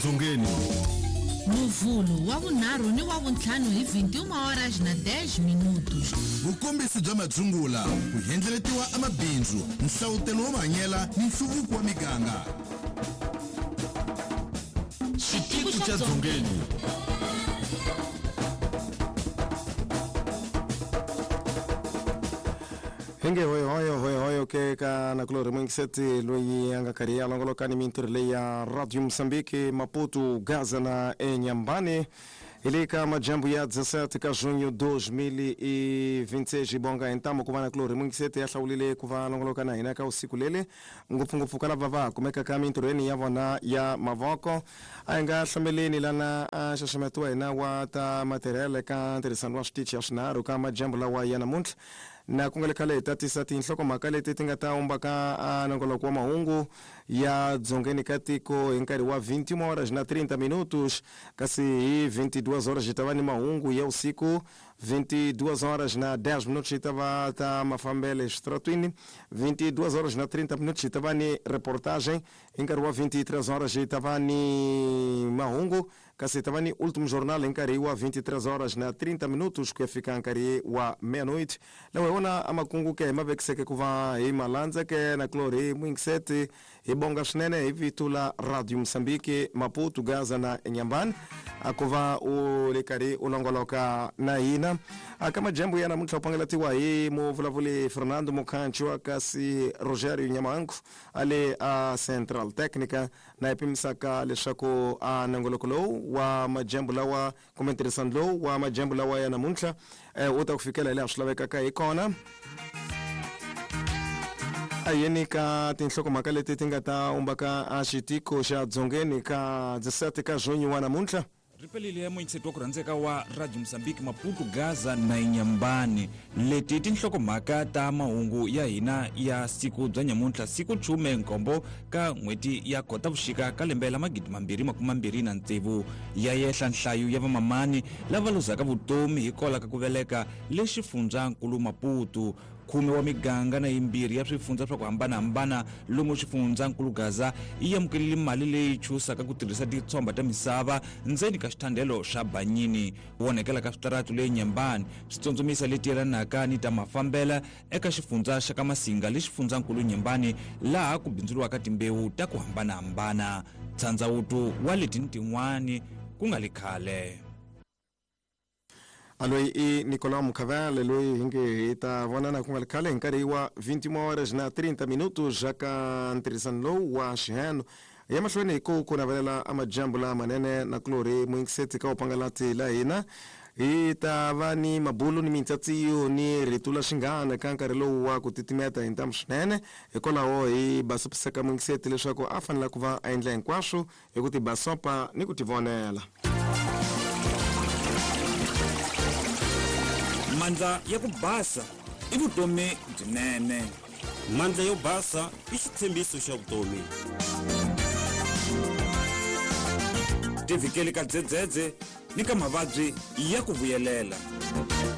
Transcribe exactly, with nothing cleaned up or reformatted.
Dzongeni. Muvhulu wa vunharhu ni wa vuntlhanu hi vinte e uma horas na dez minutos. Vukombisi bya madzungula, ku endleletiwa amabindzu, nhlavutelo wa mahanyela ni nhluvuko wa miganga. Xitiku xa Dzongeni. Hinge hoyo hoyo hoyo ke ka nakulori mwingiseti loyi a nga karhi ya longoloka ni mintirho leyi ya Radio Mozambique Maputo, Gaza na Inhambane hi le ka majambu ya dezessete ka junho dois mil e vinte e seis. Bonga ntamo ku va nakulori mwingiseti ya hlawulile ku va longoloka na hina ka usiku lele, ngopfungopfu ka lava va kumeka ka mintirhweni ya vona ya mavoko. A hi nga hlameleni lana a xaxameti wa hina wa ta matirhele ka ntirhisano wa switichi ya swinharhu ka majambu lawa ya namuntlha, na ku nga le khale hi tatisa tinhlokomhaka leti ti nga ta umbaka a nongoloko wa mahungu ya dzongeni ka tiko hi nkarhi wa vinte e uma horas na trinta minutos, kasi hi vinte e duas horas hi ta va ni mahungu ya usiku, vinte e duas horas na dez minutos hi ta va ta mafambele exitratwini, vinte e duas horas na trinta minutos hi ta va ni reportagem, hi nkarhi wa vinte e três horas hi ta va ni mahungu, kasi hi ta va ni último jornal hi nkarhi wa vinte e três horas na trinta minutos ku ya fika nkarhi wa meia-noite. Lawa hi wona amakungu ke hi ma vekiseke ku va hi malandza ke na kulorhi mwingiseti. Hi bonga swinene hi vito la Radio Mozambique Maputo, Gaza na Inhambane a ku va u le karhi u longoloka na hina aka majambu ya namuntlha. U pangelatiwa hi muvulavuli Fernando Mukhanchwa, kasi Rogerio Nyamangu a le a Central Technica, na hi pimisaka leswaku a nongoloko lowu wa majambu lawa kumbe ntirhisano lowu wa majambu lawa ya namuntlha eh, wu ta ku fikela hi laha swi lavekaka hi kona. A yeni ka tinhlokomhaka leti ti nga ta umbaka a xitiko xa dzongeni ka dezessete ka junho wa namuntlha. Ripelile ya muyingiseti wa ku rhandzeka wa Radio Mozambique Maputo, Gaza na Inhambane. Leti i tinhlokomhaka ta mahungu ya hina ya siku bya nyamuntlha, siku chume nkombo ka n'hweti ya Khotavuxika ka lembe la magidi mambirhi makume mambirhi na tsevu. Ya yehla nhlayo ya vamamani lava luzaka vutomi hikwalaho ka ku veleka le xifundzankulu Maputo. Khume wa miganga na yimbirhi ya swifundza swa ku hambanahambana lomu xifundzankulu Gaza yi amukelile mali leyi chusaka ku tirhisa titshomba ta misava ndzeni ka xithandelo xa Banyini. Ku onhekela ka switaratu le Nyembani swi tsundzumisa leti yelanaka ni ta mafambela eka xifundza xa ka Masinga le xifundzankulu Nyembani, laha ku bindzuriwaka timbewu ta ku hambanahambana. Tshandzawutu wa leti ni tin'wani ku nga li khale. A loyi i Nicolau Mukhavele, loyi hi nge hi ta vonana ku nga ri khale hi nkarhi wa vinte e uma horas na trinta minutos ja ka ntirhisano lowu wa xiheno ya mahlweni. Hi ku ku navelela amajambu lamanene na kulorhi muyingiseti ka upangalati la hina. Hi ta va ni mabulu ni mintsatsiyo ni rito la xinghana ka nkarhi lowu wa ku titimeta hi ntamu swinene. Hikwalaho hi basopisaka muyingiseti leswaku a fanele ku va a endla hinkwaswo hi ku tibasopa ni ku tivonela. Mandla ya ku basa i vutomi byinene. Mandla yo basa i xitshembiso xa vutomi. Tivhikeli ka dzedzedze ni ka mavabyi ya ku vuyelela.